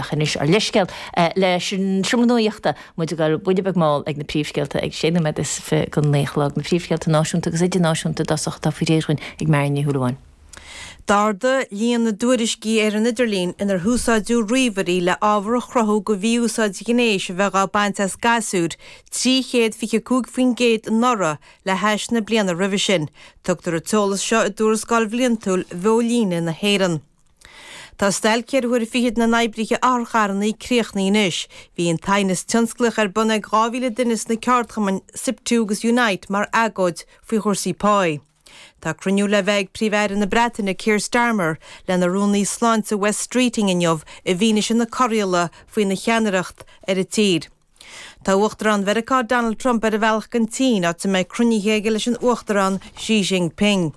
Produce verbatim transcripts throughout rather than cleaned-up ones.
Anois ár leithscéal leis an Seomra Nuachta, muid ag dul buille beag mall ag na príomhscéalta ag sé nóiméad is fiche go naoi a chlog, na príomhscéalta náisiúnta agus idirnáisiúnta i dtosach atá faoi réir againn ag Marion Ní Shúilleabháin. D'ardaigh líon na dtuairiscí ar an idirlíon inar húsáideadh ríomhairí le ábhar a chruthú go mhí-úsáid ghnéis a bheith á baint as gasúir trí chéad fiche cúig faoin gcéad anuraidh le hais na bliana roimhe sin. Tugtar an t-eolas seo i dtuarascáil bhliantúil Bheolíne na hÉireann. Tá stailc ceithre huaire fichead na n-oibrithe otharcharranna críochnaithe anois. Bhí an t-aighneas tionsclaíoch ar bun ag dhá mhíle duine sna ceardchumainn Siptu agus Unite mar agóid faoi chúrsaí páí. Tá cruinniú le bheith ag Príomh-Aire na Breataine Keir Starmer lena Rúnaí Sláinte Wes Streeting inniu i bhfianaise na corraíola faoina cheannaireacht ar an tír. Tá Uachtarán Mheiriceá Donald Trump ar a bhealach don tSín, áit a mbeidh cruinnithe aige leis an Uachtarán Xi Jinping.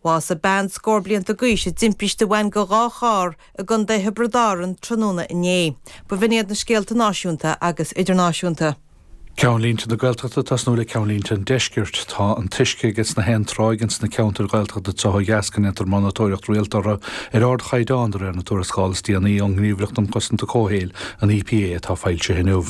Bhásaigh bean scór blianta d'aois i dtimpiste a bhain go dhá charr i gContae Thiobraid Árann tráthnóna inné. Ba bh'in iad na scéalta náisiúnta agus idirnáisiúnta. Ceannlínte na Gaeltachta tosnú le ceannlínte an Deiscirt. Tá an t-uisce aige sna haon tráigh ins na ceantair Ghaeltachta anseo ó dheas go ndéantar monatóireacht rialta orthu ar ardchaighdeán de réir na tuarascála is déanaí ón nGníomhaireacht um Chosaint Comhshaoil, an EPA, atá foilsithe inniu.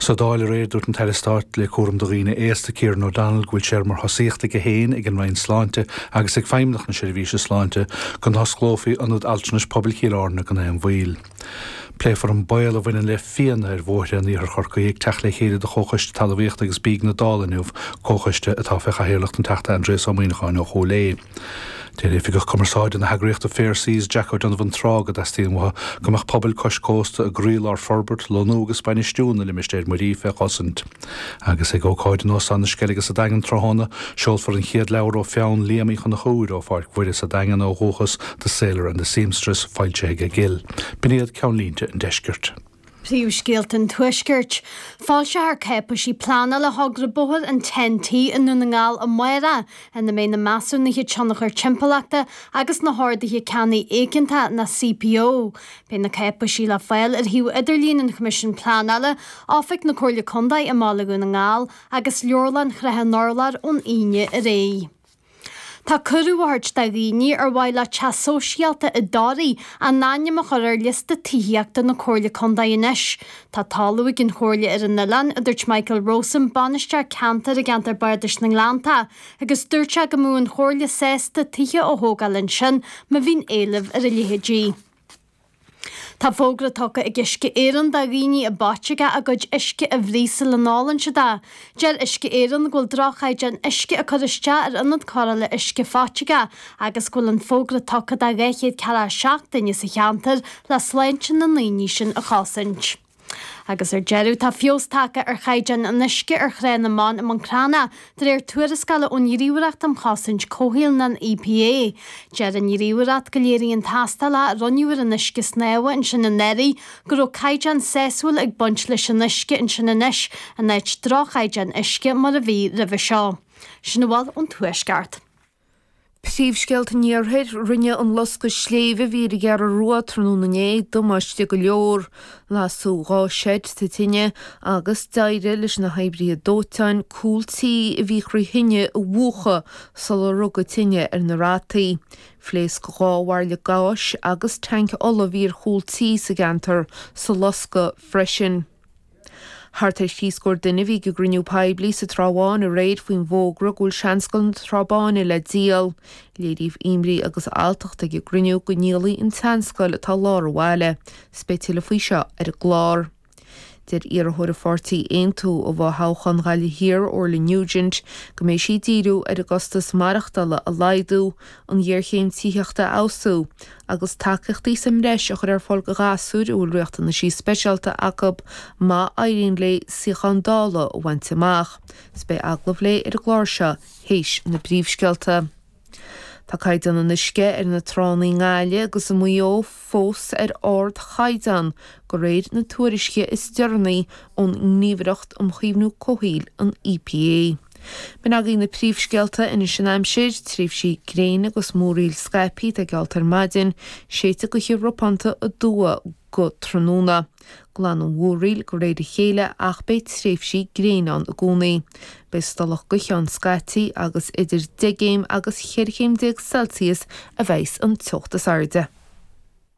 Sa Dáil aréir dúirt an tAire Stáit le cúram do dhaoine aosta Kieran O'Donnell go bhfuil sé mar thosaíocht aige féin ag an Roinn Sláinte agus ag Feidhmeannacht na Seirbhíse Sláinte go n-osclófaí Ionad Altranais Pobail Chill Airne gan aon mhoill. Pléifear an baol a bhaineann le fianna ar bhóithre in iarthar Chorcaí ag teacht le chéile de Chomhchoiste Talmhaíochta agus Bídh na Dála inniu, comhchoiste atá fé chathaoirleacht an Teachta Aindrias Ó Muimhneacháin ó Chúil Aodha. Deir Oifigeach Cumarsáide na heagraíochta Fair Seas Jack O'Donovan Trá go dteastaíonn uathu go mbeadh pobail cois cósta i gcroílár forbairt, lonnú agus bainistiú na limistéir muirí fé chosaint. Agus ag ócáid in Óstán na Sceilge sa Daingean tráthnóna, seolfar an chéad leabhar ó pheann Liam Uí Chonchúir ó Pháirc Mhuire sa Daingean ó dhúchas, The Sailor and the Seamstress, foilsithe ag Gill. B'in iad ceannlínte an deiscirt. Príomhscéalta an Tuaiscirt. Foilseofar cáipéisí pleanála thogra bóthair an Ten T i nDún na nGall amárach, ina mbeidh na measúnuithe tionchair timpeallachta agus na horduithe ceannaigh éigeantacha nó CPO. Beidh na cáipéisí le fáil ar shuíomh idirlín an Choimisiúin Pleanála, Oifig na Comhairle Contae i mBaile Dhún na nGall agus Leabharlann Shrath an Urláir ón Aoine ar aghaidh. Tá cuireadh á thabhairt do dhaoine ar mhaith leo teach sóisialta i dToraigh a n-ainm a chur ar liosta tithíochta na Comhairle Contae anois. Tá talamh ag an Chomhairle ar an oileán, a dúirt Michael Rowsome, bainisteoir ceantair i gceantar Bardais na nGleannta, agus dúirt sé go mbeadh an Chomhairle sásta tithe a thógáil ansin má bhíonn éileamh ar a leithéidí. Tá fógra tugtha ag Uisce Éireann do dhaoine i bPáiteacha a gcuid uisce a bhruith sula n-ólann siad é. Deir Uisce Éireann go bhfuil droch-chaighdeán uisce ag cur isteach ar ionad cóireála uisce Pháiteacha agus go bhfuil an fógra tugtha do dhá chéad ceathracha seacht duine sa cheantar le sláinte na ndaoine sin a chosaint. Agus ar deireadh tá feabhas tagtha ar chaighdeán an uisce ar Thrá na mBan i mBun Cranncha de réir tuarascála ón Ghníomhaireacht um Chosaint Comhshaoil nó an EPA. Deir an Ghníomhaireacht go léiríonn tástáil a rinneadh ar an uisce snámha ansin anuraidh go raibh caighdeán sásúil ag baint leis an uisce ansin anois in áit droch-chaighdeán uisce mar a bhí roimhe seo. Sin a bhfuil ón Tuaisceart. Príomhscéalta an Iarthair, rinne an loscadh sléibhe a bhí ar an gCeathrú Rua tráthnóna inné damáiste go leor. Lasadh dhá seid sa tine agus d'éirigh leis na hoibrithe dóiteáin cúl tí a bhí thrí thine a mhúchadh sular rug an tine ar na rataí. Phléasc dhá bhairille gáis agus tanc ola a bhí ar chúl tí sa gceantar sa loscadh freisin. Thart ar thrí scór duine a bhí ag an gcruinniú poiblí sa Trá Bháin aréir faoin bhfógra go bhfuil Seanscoil na Trá Báine le díol. Léiríodh imní agus alltacht ag an gcruinniú go ndíolfaí an tseanscoil atá i lár an bhaile. 'S beidh tuilleadh faoi seo ar an gclár. Deir iarrthóir an pháirtí Aontú i bhfothoghchán Ghaillimh Thiar, Orla Nugent, go mbeidh sí ag díriú ar an gcostas maireachtála a laghdú, an ghéarchéim tithíochta a fheabhsú, agus tacaíochtaí sa mbreis a chur ar fáil do ghasúir a bhfuil riachtanaisí speisialta acu má éiríonn léi suíochán Dála a bhaint amach. 'S beidh agallamh léi ar an gclár seo théis na bpríomhscéalta. Tá caighdeán an uisce ar na tránna i nGaillimh agus i Maigh Eo fós ar ardchaighdeán, de réir na tuairisce is deireanaí ón nGníomhaireacht um Chaomhnú Comhshaoil, an EPA. B'in agaibh na príomhscéalta anois an aimsir, tréimhsí gréine agus múraíl scaipthe atá geallta ar maidin, séidfidh gaoth ropánta aduaidh go tráthnóna. Glanfaidh an mhúraíl de réir a chéile ach beidh tréimhsí gréine ann i gcónaí. Beidh stolladh gaoithe ann scaití agus idir deich gcéim agus cheithre chéim déag Celsius a bheidhs an teocht is airde.